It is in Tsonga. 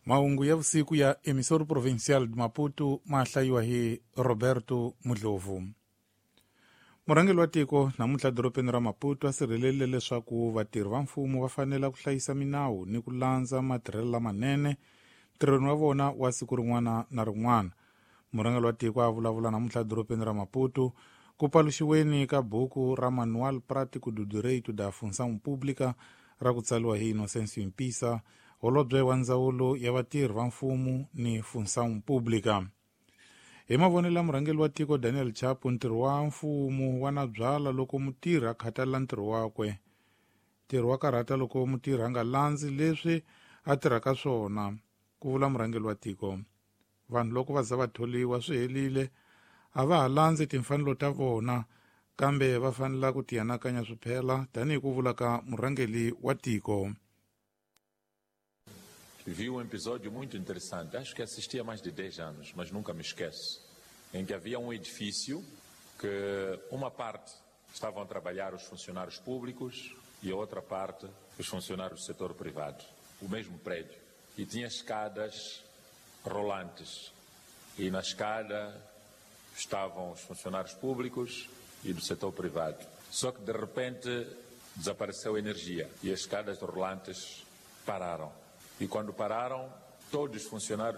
Mahungu ya vusiku ya Emissora Provincial de Maputo ma hlayiwa hi Roberto Mudlovu. Murhangeri wa tiko namuntlha dorobeni ra Maputo a sirhelelile leswaku vatirhi va mfumo va fanele ku hlayisa minawu ni ku landza matirhelo lamanene ntirhweni wa vona wa siku rin'wana na rin'wana. Murhangeri wa tiko a vulavula namuntlha dorobeni ra Maputo ku paluxiweni ka buku ra Manual Prático do Direito da Função Pública ra ku tsariwa hi Inocêncio Impissa, holobye wa ndzawulo ya vatirhi va mfumo ni Função Pública. Hi mavonelo ya murhangeri wa tiko Daniel Chapo, ntirho wa mfumo wa na byala loko mutirhi a khathalela ntirho wakwe. Ntirho wa karhata loko mutirhi a nga landzi leswi a tirhaka swona, ku vula murhangeri wa tiko. Vanhu loko va za va tholiwa swi helile, a va ha landzi timfanelo ta vona, kambe va fanela ku tianakanya swiphela tanihi ku vula ka murhangeri wa tiko. Vi um episódio muito interessante, acho que assisti há mais de 10 anos, mas nunca me esqueço, em que havia um edifício que uma parte estavam a trabalhar os funcionários públicos e a outra parte os funcionários do setor privado, o mesmo prédio. E tinha escadas rolantes. E na escada estavam os funcionários públicos e do setor privado. Só que de repente desapareceu a energia e as escadas rolantes pararam. E quando pararam, todos os funcionários